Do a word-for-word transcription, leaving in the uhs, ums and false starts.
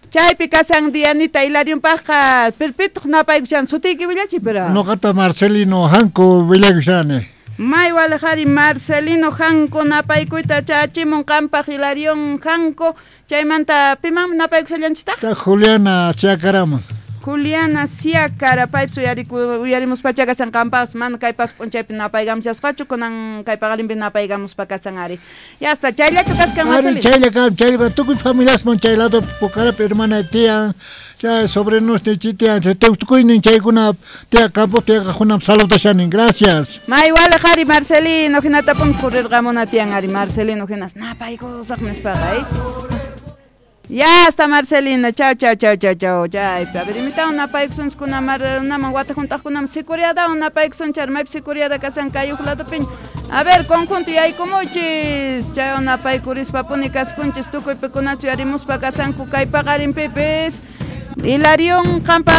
Chaypi kasan Dianita Hilarionpaqqa pirpituq napaykushan sutiyki willachiy pero. Noqata Marcelino Hanko willakushani. May walejari Marcelino Hanko napaykuyta chachimun qampaq Hilarion Hanko chaymanta pimanmi napaykushallanchistaq? Ta Juliana Siacaraman. Juliana Siacara paypis uyariku uyarimuspacha kasan qampas mana kay pas p'unchaypi napaykamushasqachu kunan kay paqarinpi napaykamuspa kasan ari. Ya está, chayllachu kaskan Ari Marcelino. chaylla kan chaylla tukuy familiasman chay lado Pucarap hermana tiyan chay sobrinos tiyan tukuynin chaykuna tiya campo tiya kaqkunam saludashanin gracias. May walejari Marcelino hinatapun kurirqamuna tiyan ari Marcelino hinas napaykusaq nispaqa eh. Ya está Marcelino, chao chao chao chao chao. Chaypi a ver imitawan napaykusunchikuna mar naman wata hunt'aqkunaman sicuriadawan napaykusunchik maypi sicuriada kasan kay huk ladopiña. A ver, conjunto yaykumuchis. Chaywan napaykurispa-puni kaskunchis tukuy pikunachu yarimuspa kasanku kay paqarinpipis. Hilarion qampaq